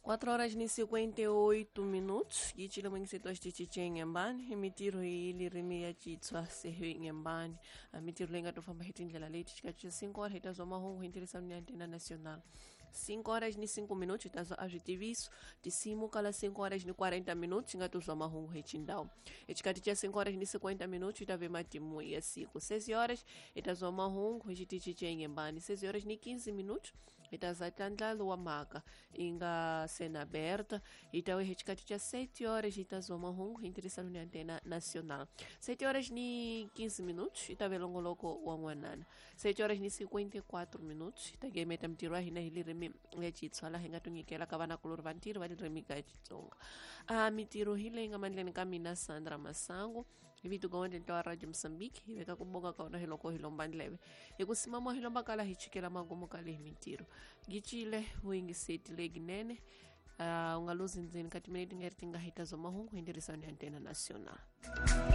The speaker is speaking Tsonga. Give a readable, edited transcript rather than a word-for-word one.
4 horas ni 58 minutos yi cile xitichi ngembani i mitirho hi lirimi ya Xitswa sehe ngembani. A mitirho leyi nga to famba hi tindlela leti xikati xa 5 horas hi ta zwa mahungu hi ntirhisano ni Antena Nacional. 5 horas ni 5 minutos hi ta zwa a switiviso tinsimu kala 5 horas ni 40 minutos hi nga to zwa mahungu hi xindhawu. Xikati xa 5 horas ni 50 minutos hi ta ve matimu ya siku. 6 horas hi ta zwa mahungu hi xitichi xa ngembani. 6 horas ni 15 minutos hi ta za tlandlalo wa mhaka yi nga sena aberta. Hi ta hi xikati xa 7 horas hi ta zwa mahungu hi ntirhisano ni Antena Nacional. 7 horas ni 15 minutos hi ta ve longoloko wa n'wanana. 7 horas ni 54 minutos hi ta gemeta mitirho ya hina hi lirimi ya Xitswa laha hi nga tinyikela ka vanakulorhi va ntirho va ririmi ka Xitsonga. A mitirho hi leyi nga mandleni ka mina Sandra Masangu hi vito ka wendleni wa Radio Mozambique. Hi veka ku bonga ka wona hi loko hi lomba ndleve hi ku simama hi lomba kala hi chikela magumu ka lehi mitirho gicile vuyingiseti leginene. U nga luzi ndzeni ka timinete nga ri ti nga hita zwa mahungu hi ntirhisano ya Antena Nacional.